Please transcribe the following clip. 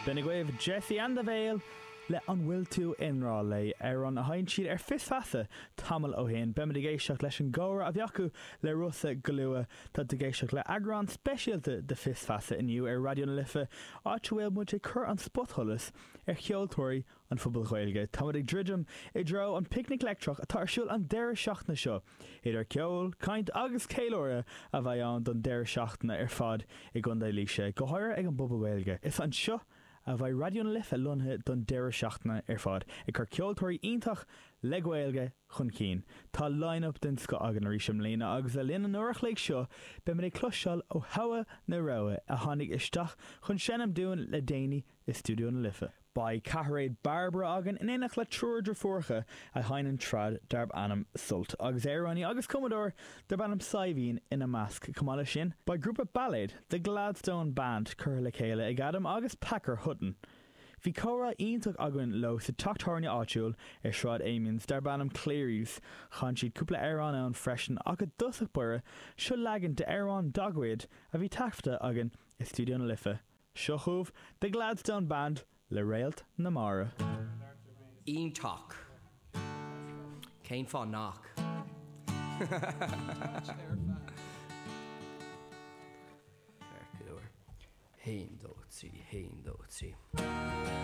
B'in agaibh Jessie and the Veil le An bhfuil tú i ngrá léi? Amhrán a sheinn siad ar Fios Feasa tamall ó shin. Beimid ag éisteacht leis an gcomhrá a bhí acu le Rossa go luath. Tá tú ag éisteacht le eagrán speisialta de Fios Feasa inniu ar Raidió na Life, áit a bhfuil muid ag cur an spotsholas ar cheoltóirí an phobail Ghaeilge. Táimid ag druidim i dtreo an Picnic Leictreach atá ar siúl an deireadh seachtaine seo. Idir ceol, caint agus ceiliúradh a bheidh ann don deireadh seachtaine ar fad i gContae Laoise, go háirithe ag an bpobal Gaeilge. Is anseo a bheidh Raidió na Life lonnaithe don deireadh seachtaine ar fad, ag cur ceoltóirí iontach le Gaeilge chun cinn. Tá line-up den scoth againn arís i mbliana agus le linn an uair a chloig seo beimid ag cloisteáil ó thogha na rogha a tháinig isteach chun seinm dúinn le déanaí i Stiúideo na Life. Beidh ceathairéad Bairbre againn in éineacht le triúr driofúracha a sheinneann trad darb ainm Sult, agus amhránaí agus cumadóir darb ainm Saidhbhín ina measc. Chomh maith leis sin, beidh grúpa bailéid, The Gladstone Band, curtha le chéile ag Adam agus Packer Hutton. Bhí comhrá iontach againn leo sa teach tábhairne áitiúil ar Shráid Amiens darb ainm Cleary's. Chan siad cúpla amhrán ann freisin ach i dtosach báire, seo leagan d'amhrán dá gcuid a bhí taifeadta againn i Stiúideo na Life. Seo chugaibh The Gladstone Band le Réalt na Mara. Iontach. Cén fáth nach? Ceart go leor. Haon, dó, trí, haon, dó, trí.